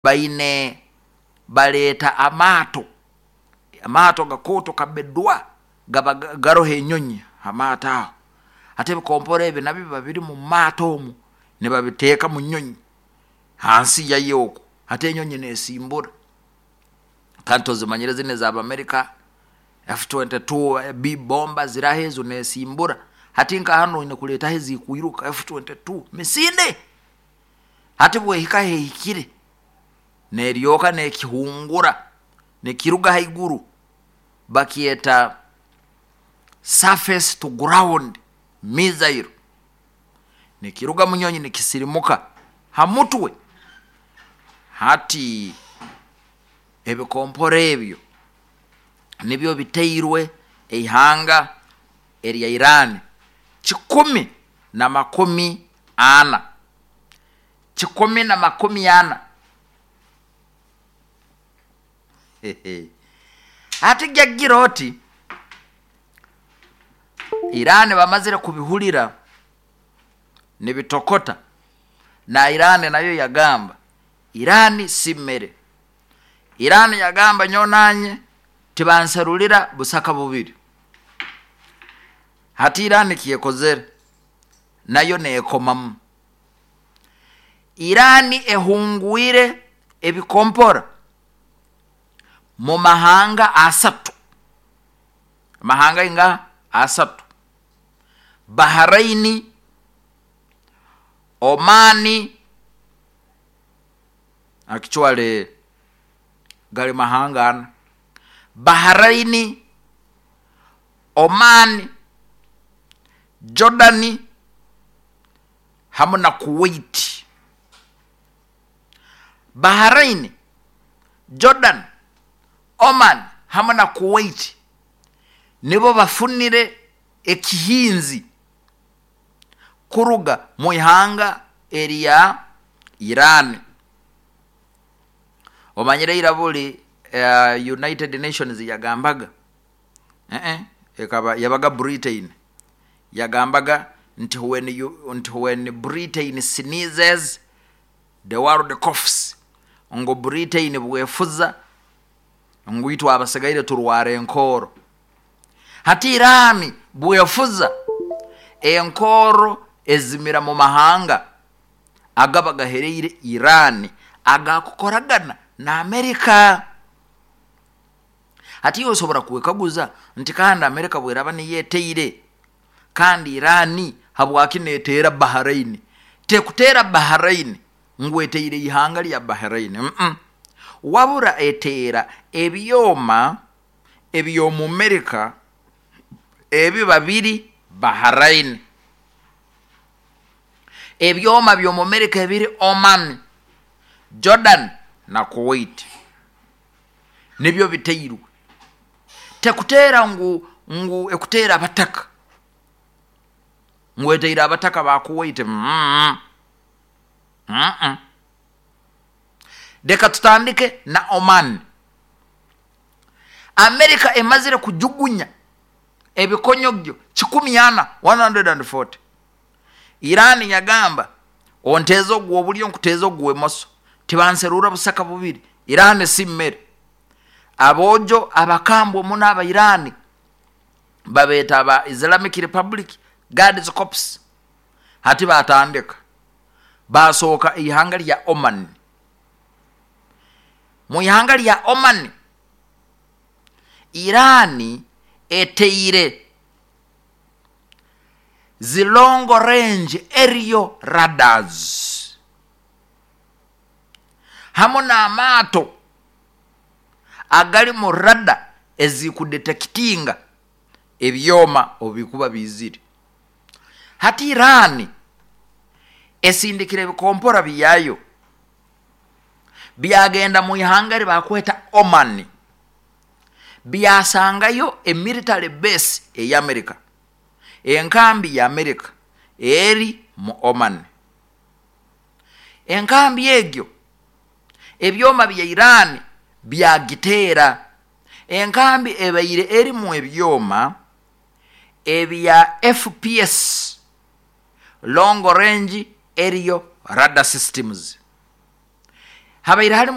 Baine baleeta amaato, amaato gakooto kabedwa gaba garoho enyonyi ha maato aho. Hati ebikompora ebi nabyo biba biri mu maato omu, nibabiteeka mu nyonyi hansi yayo oku, hati enyonyi nesimbura. Kandi tozimanyire zinu ez'Abamerika F-22 B bomba ziraho ezo nesimbura. Hati nka hanu oine kureetaho ezikwiruka F-22 misinde. Hati bwehika ahehikire, neryoka nekihungura nikiruga haiguru, bakyeta surface to ground missile, nikiruga munyonyi nikisirimuka ha mutwe. Hati ebikompora ebyo nibyo biteirwe eihanga erya Iran 140. 140. Hati gyagira oti, Iran bamazire kubihurira nibitokota, na Iran nayo yagamba, Iran si mere. Iran yagamba nyowe nanye tibanserulira busaka bubiri. Hati Iran ekyekozere, nayo neekomamu. Iran ehungwire ebikompora mu mahanga asatu, amahanga ingaha? Asatu, Bahrain, Oman, actually gari mahanga ana, Bahrain, Oman, Jordan hamu na Kuwait. Bahrain, Jordan, Oman hamu na Kuwait nibo bafunire ekihinzi kuruga mu ihanga erya Iran. Omanyire ira buri United Nations yagambaga Eeh ekaba yabaga Britain yagambaga nti when you nti when Britain sneezes the world coughs ngu Britain bwefuza ngu itwe abasigaire turwara enkooro. Hati Iran bwefuza enkooro ezimira mu mahanga agaba gahereire Iran agakukoragana na America. Hati iwe osobora kwekaguza nti kandi Amerika bweraba niyo eteire kandi Iran habwaki neteera Bahrain? Tekuteera Bahrain ngu eteire ihanga lya Bahrain mm wabura eteera ebyoma ebyomu Amerika ebiba biri Bahrain. Ebyoma byomu Amerika ebiri Oman, Jordan na Kuwait. nibyo biteirwe. Tekuteera ngu ngu ekuteera abataka, ngu eteire abataka ba Kuwait mm mm. Leka tutandike na Oman. America emazire kujugunya ebikonyogyo 400, 140. Iran yagamba onteeze ogw'obulyo nkuteeze ogw'emoso, tibanserura busaka bubiri. Iran si mere. Aboojo abakambwe muno aba Iran babeeta aba Islamic Republic Guards Corps. Hati batandika basooka eihanga rya Oman. Mu ihanga rya Oman, Iran eteire zi long range aerial radars hamu n'amaato agarimu radar ezikudetekitinga ebyoma obubikuba biizire. Hati Iran esindikire ebikompora byayo byagenda mu ihanga eri bakweta Oman. Byasangayo e military base ey'Amerika, enkambi ya Amerika eri mu Oman. Enkambi egyo ebyoma bya Iran byagiteera. Enkambi ebaire erimu ebyoma ebya FPS, Long Range Aerial Radar Systems. Habaire harimu.